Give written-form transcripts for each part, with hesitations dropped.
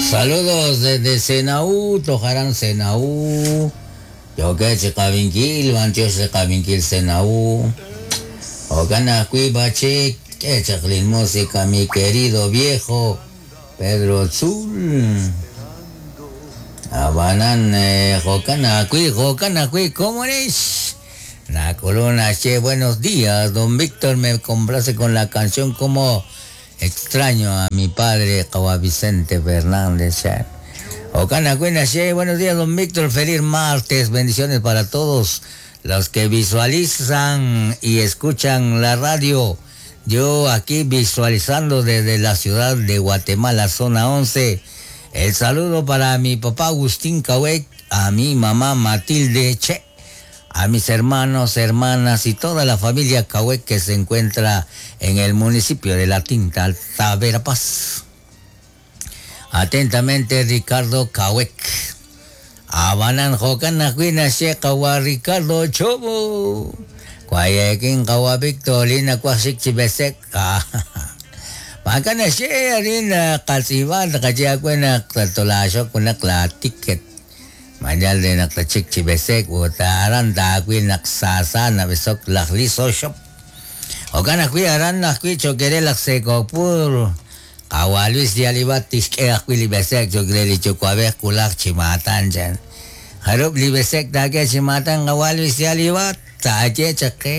Saludos desde Senaú, Tojarán Senaú. Yookeb' chi qab'inkil, b'antiox li qab'inkil Senaú. Jo'kan ajwi' b'achik, k'e chaq lin música mi querido viejo Pedro Tzul. Ab'anan jo'kan ajwi', jo'kan ajwi' komonex. Nak'ulun naxye buenos días, don Víctor me complace con la canción como extraño a mi padre qawa' Vicente Fernández chan. Jo'kan ajwi' naxye buenos días don Víctor, feliz martes, bendiciones para todos los que visualizan y escuchan la radio. Yo aquí visualizando desde la ciudad de Guatemala, zona 11. El saludo para mi papá Agustín Cahuec, a mi mamá Matilde Che, a mis hermanos, hermanas y toda la familia Cahuec que se encuentra en el municipio de La Tinta, Alta Verapaz. Atentamente, Ricardo Cahuec. Ab'anan jo'kan ajwi' naxye qawa' Ricardo Chobo. Wayekin qawa' Víctor li nawaj xik chi b'esek. Maak'a' naxye arin qatz'iib'a tqaye aawe naq tolaaxok junaq laatiket. Ma yal re naq tatxik chi b'esek ut aran taawil naq saasa nab'esok laj Liso Shop. Jo'kan ajwi' aran ajwi' cho'q re laj Seekokpur. Qawa' Luis de Alibat tixk'e ajwi' li b'ese'k cho'q re li yuwa'b'ej wulaj chi maatan, chan. Jarub' li b'ese'k taak'e chi maatan qawa' Luis de Alibat? Taaye chaq qe.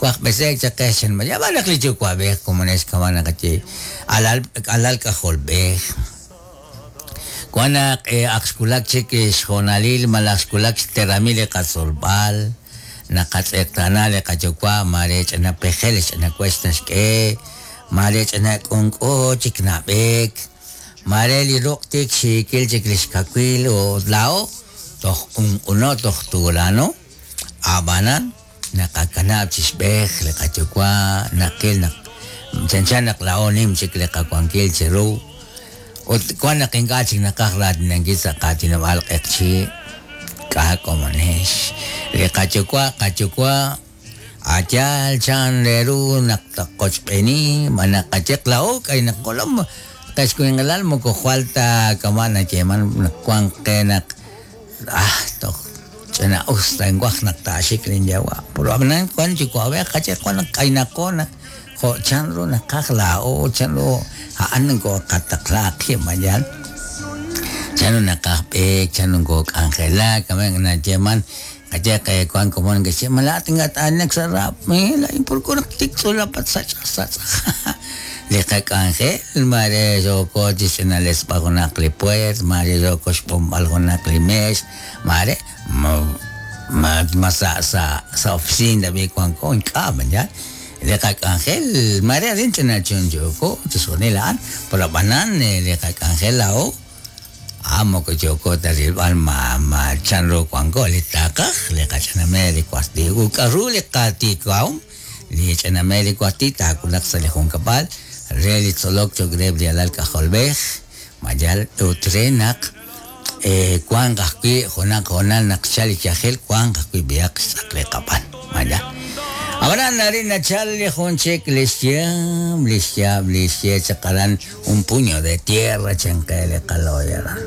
Waj b'ese'k chaq qe, chan. Ma yaab'al naq li yuwa'b'ej komonex kama' naqaye alal alal k'ajolb'ej. Wan naq ak xwulak chik xhoonalil malaj xwulak xteramil li qatzolb'al, naqatz'eqtaana li qayuwa' maare ch'ina pejel, ch'ina wex naxk'e, maare ch'ina k'unk'u chik nab'eek, maare li ruq' tik xiikil chik li xkawil ut laa'o toj q'unq'uno, toj tuulano, a'b'anan naqakanab' chi xb'ej li qayuwa', naqil naq chanchan naq laa'o nim chik li qawankil chiru ut wan naq ink'a' chik naqaj raatinankil sa' qaatinob'aal q'eqchi', k'a' komonex. Li qayuwa' qayuwa' a' yaal chan re ru naq taqochb'eeni ma naqayeq laa'o k'aynaqo lom qechwinqilal moko jwal ta kama' nayeeman naq wank qe naq Ah, toj ch'ina'us ta nwaj naq taaxik linyawa'. Pero ab'anan wank yuwa'b'ej qaye wank naq k'aynaqo naq jo' chanru naqaj laa'o, chanru a'an nokooqataqla qib' ma yaal. Chanru naqaj b'eek, chanru nokook'anjelak, ab'an nayeeman qaye qe wank komon neke'xye ma laa'at ink'a' t'aanak sa' rap, laa'in purku naq tik tz'ulapat sach'aj sach'aj. Li qak'anjel maare yooko chi xch'inalesb'al junaq li pueert, maare yooko xb'onb'al junaq li meex, maare ma sa' sa' sa' oficina tab'i' wanko, ink'a' b'an yaal. Li qak'anjel maare arin ch'ina chunchuuko chixjunil a'an, pero ab'anan li qak'anjel laa'o a'an moko yooko ta rilb'al ma ma chanru wanko, li taqaj li qach'ina meer li wasti ut k'aru li qatiikahom. Li ch'ina Mary Wati taawulaq sa' li junkab'al re li tzolok cho'q reheb' li alal k'ajolb'ej, ma yal ut re naq wanq ajwi' junaq hoonal naq xchal li yajel wanq ajwi' b'ihaq xtz'aq li qab'an, ma yal. Ab'anan arin nachal li jun chik li xyaab', li xyaab' li xye chaq aran un puño de tierra chan qe li qalooy aran.